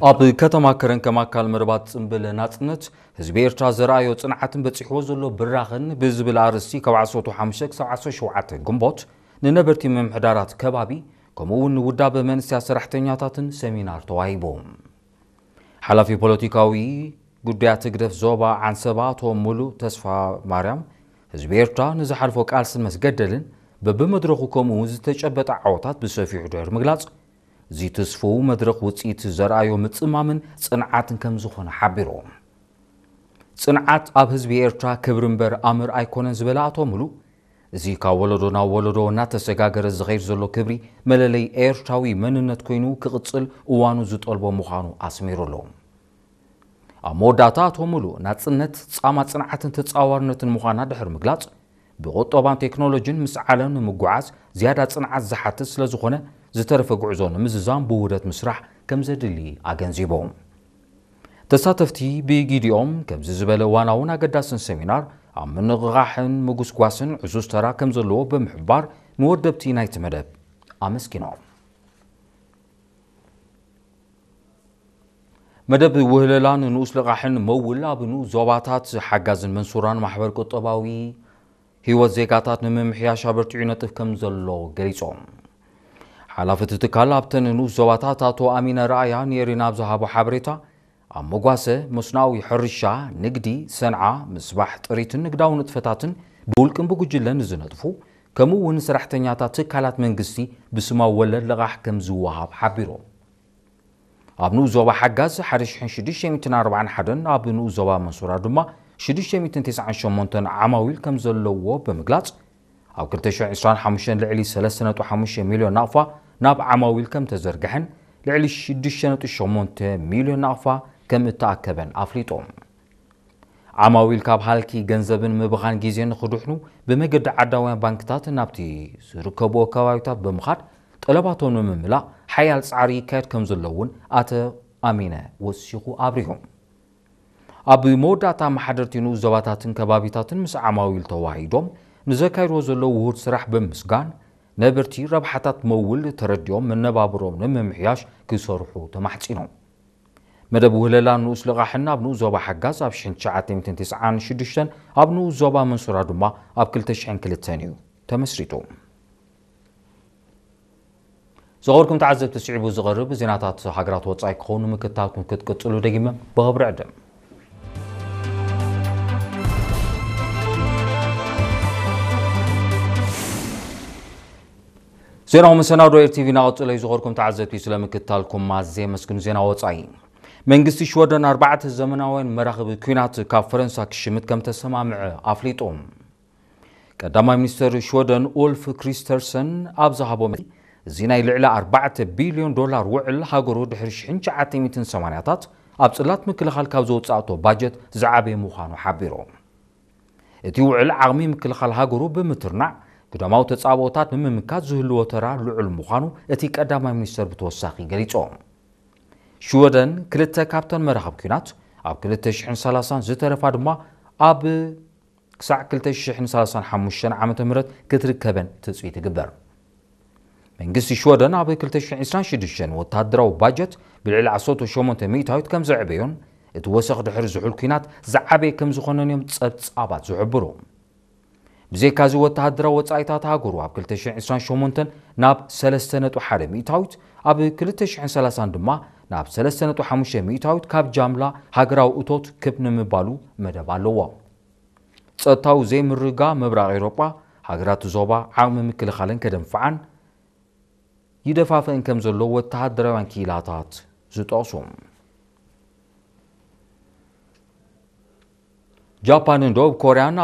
ኣብ ከተማ ከረን ከም ኣካል መርባት ጽምብል ናጽነት፣ ህዝቢ ኤርትራ ዘርኣዮ ጽንዓትን በጺሕዎ ዘሎ ብራኸን ብዝብል ኣርእስቲ ካብ ዓሰርተ ሓሙሽተ ክሳብ ዓሰርተ ሸውዓተ ግንቦት ንነበርቲ ምምሕዳራት ከባቢ ከምኡ እውን ንውዳበ መንእሰያት ሰራሕተኛታትን ሰሚናር ተዋሂቡ። ሓላፊ ፖለቲካዊ ጉዳያት ህግደፍ ዞባ ዓንሰባ ኣቶ ሙሉ ተስፋ ማርያም፣ ህዝቢ ኤርትራ ንዝሓልፎ ቃልስን መስገደልን በብመድረኹ ከምኡ እውን ዝተጨበጠ ዓወታት ብሰፊሑ ድሕሪ ምግላጽ፣ እዚ ትስፉው መድረኽ ውጽኢት ዘርኣዮ ምጽማምን ጽንዓትን ከም ዝኾነ ሓቢሩ። ጽንዓት ኣብ ህዝቢ ኤርትራ ክብሪ እምበር ኣምር ኣይኮነን ዝበለ ኣቶ ሙሉ፣ እዚ ካብ ወለዶ ናብ ወለዶ እናተሰጋገረ ዝኸይድ ዘሎ ክብሪ መለለይ ኤርትራዊ መንነት ኮይኑ ክቕጽል እዋኑ ዝጠልቦ ምዃኑ ኣስሚሩሉ። ኣብ መወዳእታ ኣቶ ሙሉ ናጽነት ጻማ ጽንዓትን ተጻዋርነትን ምዃና ድሕሪ ምግላጽ፣ ብቁጠባን ቴክኖሎጂን ምስ ዓለም ንምጉዓዝ ዝያዳ ጽንዓት ዝሓትት ስለ ዝኾነ፣ ዝተረፈ ጉዕዞ ንምዝዛም ብውህደት ምስራሕ ከም ዘድሊ ኣገንዚቡ። ተሳተፍቲ ብጊዲኦም ከምዚ ዝበለ ዋናውን ኣገዳስን ሰሚናር ኣብ ምንቕቓሕን ምጉስጓስን ዕዙዝ ተራ ከም ዘለዎ ብምሕባር፣ ንወደብቲ ናይቲ መደብ ኣመስጊኖም። መደብ ውህለላን ንኡስ ልቓሕን መውል ኣብ ንኡስ ዞባታት ሓጋዝን መንሱራን ማሕበር ቁጠባዊ ህይወት ዜጋታት ንምምሕያሽ ኣበርቲዑ ይነጥፍ ከም ዘሎ ገሊጾም። ሓላፊ እቲ ትካል ኣብተን ንኡስ ዞባታት ኣቶ ኣሚነ ረኣያ ንኤሪና ኣብ ዝሃቦ ሓበሬታ፣ ኣብ መጓሰ፣ መስኖኣዊ ሕርሻ፣ ንግዲ፣ ሰንዓ፣ ምስባሕ ጥሪትን ንግዳዊ ንጥፈታትን ብውልቅን ብጉጅለን ዝነጥፉ፣ ከምኡ እውን ሰራሕተኛታት ትካላት መንግስቲ ብስማዊ ወለድ ልቓሕ ከም ዝወሃብ ሓቢሮም። ኣብ ንኡስ ዞባ ሓጋዝ ሓደ ሽሕን ሽዱሽተ ሚእትን ኣርባዓን ሓደን፣ ኣብ ንኡስ ዞባ መንሱራ ድማ ሽዱሽተ ሚእትን ተስዓን ሸሞንተን ዓማዊል ከም ዘለዎ ብምግላጽ፣ ኣብ ክልተ ሽሕን ዕስራን ሓሙሽተን ልዕሊ ሰለስተ ነጥቢ ሓሙሽተ ሚልዮን ናቕፋ ናብ ዓማዊል ከም ተዘርግሐን ልዕሊ ሽዱሽተ ነጥቢ ሸሞንተ ሚልዮን ናቕፋ ከም እተኣከበን ኣፍሊጦም። ዓማዊል ካብ ሃልኪ ገንዘብን ምብኻን ግዜን ንኽድሕኑ ብመገዲ ዓዳውያን ባንክታት ናብቲ ዝርከብዎ ከባቢታት ብምኻድ ጠለባቶም ንምምላእ ሓያል ጻዕሪ ይካየድ ከም ዘሎ እውን ኣቶ ኣሚነ ወሲኹ ኣብሪሁ። ኣብ መወዳእታ ኣመሓደርቲ ንኡስ ዞባታትን ከባቢታትን ምስ ዓማዊል ተዋሂዶም ንዘካይድዎ ዘለዉ ውሁድ ስራሕ ብምስጋን ነበርቲ ረብሓታት መውል ተረዲኦም መነባብሮም ንምምሕያሽ ክሰርሑ ተማሕጺኖም። መደብ ውህለላ ንኡስ ልቓሕን ኣብ ንኡስ ዞባ ሓጋዝ ኣብ ሽሕን ትሽዓተ ሚእትን ተስዓን ሽዱሽተን ኣብ ንኡስ ዞባ መንሱራ ድማ ኣብ ክልተ ሽሕን ክልተን እዩ ተመስሪቱ። ዝኸበርኩም ተዓዘብቲ፣ ስዒቡ ዝቐርብ ዜናታት ሃገራት ወጻኢ ክኸውን ምክታልኩም ክትቅጽሉ ደጊመ ብኽብሪ ዕድም። ዜናዊ መሰናዶ ኤር ቲቪ እናቐጸለ እዩ። ዝኸበርኩም ተዓዘብቲ፣ ስለ ምክታልኩም ኣዝየ የመስግን። ዜና ወጻኢ። መንግስቲ ሽወደን ኣርባዕተ ዘመናውያን መራኽብ ኲናት ካብ ፈረንሳ ክሽምት ከም ተሰማምዐ ኣፍሊጡ። ቀዳማይ ሚኒስተር ሽወደን ኡልፍ ክሪስተርሰን ኣብ ዝሃቦ መግለጺ፣ እዚ ናይ ልዕሊ ኣርባዕተ ቢልዮን ዶላር ውዕል ሃገሩ ድሕሪ ሽሕን ትሽዓተ ሚእትን ሰማንያታት ኣብ ጽላት ምክልኻል ካብ ዘውጻእቶ ባጀት ዝዓበየ ምዃኑ ሓቢሩ። እቲ ውዕል ዓቕሚ ምክልኻል ሃገሩ ብምትርናዕ፣ ግዳማዊ ተጻብኦታት ንምምካት ዝህልዎ ተራ ልዑል ምዃኑ እቲ ቀዳማይ ሚኒስተር ብተወሳኺ ገሊጹ። ሽወደን ክልተ ካብተን መራኽብ ኲናት ኣብ ክልተ ሽሕን ሰላሳን ዝተረፋ ድማ ኣብ ክሳዕ ክልተ ሽሕን ሰላሳን ሓሙሽተን ዓመተ ምህረት ክትርከበን ትጽቢት ይግበር። መንግስቲ ሽወደን ኣብ ክልተ ሽሕን ዕስራን ሽዱሽተን ወተሃደራዊ ባጀት ብልዕሊ ዓሰርተ ሸሞንተ ሚእታዊት ከም ዘዕበዮን እቲ ወሰኽ ድሕሪ ዝሑል ኲናት ዝዓበየ ከም ዝኾነን እዮም ጸብጻባት ዝሕብሩ። ብዘይካዚ ወተሃደራዊ ወጻኢታት ሃገሩ ኣብ ክልተ ሽሕን ዕስራን ሸሞንተን ናብ ሰለስተ ነጥቢ ሓደ ሚእታዊት፣ ኣብ ክልተ ሽሕን ሰላሳን ድማ ናብ ሰለስተ ነጥቢ ሓሙሽተ ሚእታዊት ካብ ጃምላ ሃገራዊ እቶት ክብ ንምባሉ መደብ ኣለዎ። ጸጥታዊ ዘይምርግጋእ ምብራቕ ኤውሮጳ፣ ሃገራት ዞባ ዓቕሚ ምክልኻለን ከደንፍዓን ይደፋፍእን ከም ዘሎ ወተሃደራውያን ክኢላታት ዝጠቕሱ። ጃፓንን ደቡብ ኮርያን